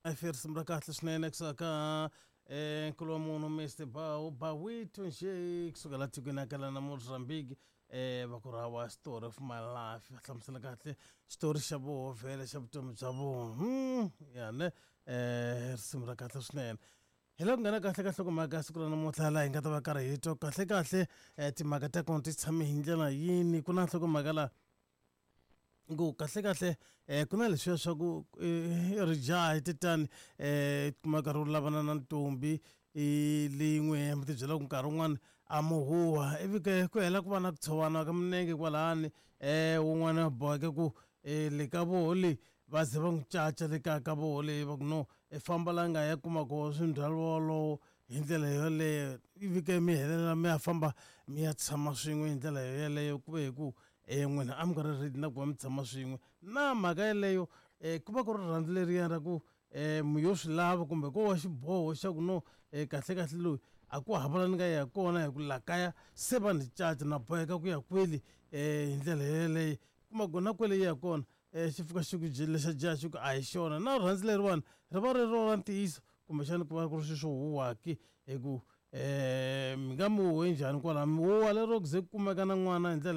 Life risimu ra kahle swinene kusuka ka nkulu wa munhu Mr Bawu Bawito nje kusuka la tikweni ya kala na Mozambique va ku rawa story of my life va hlamusela kahle xitori xa voho vhele xa vutomi bya vona ya ne risimu ra kahle swinene hi la ku nghena kahle ka nhlokomhaka ya siku ra namuntlha laha hi nga ta va karhi hi twa kahle kahle timhaka ta kona ti tshame hi ndlela yini ku na nhlokomhaka laha ku kahlekahle ku na leswiya swa ku rijaha titani kuma nkarhi wo lavana na ntombi leyi n'wi hemba ti byela ku nkarhi wun'wani a mo huha ivi ke ku hela ku va na ku tshovana ka minenge kwalani wun'wana boheke ku le ka voho le va ze va n'wi caca le kaya ka voho le va ku no i famba la nga ya kuma koho swindzhwalo wolowo hi ndlela yoleyo ivi ke mi helela mi ya famba mi ya tshama swin'we hi ndlela yoyeleyo ku ve hi ku n'wina a mi nga ri ready na ku va mi tshama swin'we na mhaka yeleyo ku va ku ri rirhandzu leriya ra ku mi yo swi lava kumbe ko va xiboho xa ku no kahle kahle loyi a ku hava la ni nga ya kona hi ku la kaya se va ni caca na boheka ku ya kwele hi ndlela yeleyo kuma ku na kwele yi ya kona xi fika xi ku lexa jaha xi ku a hi xona na rirhandzu leriwani ri va ri ro ra ntiyiso kumbexana ku va ku ri swilo swo huha ke hi ku mi nga mi huhe njhani kwalano mi huha lero ku ze ku kumeka na n'wana hi ndlela.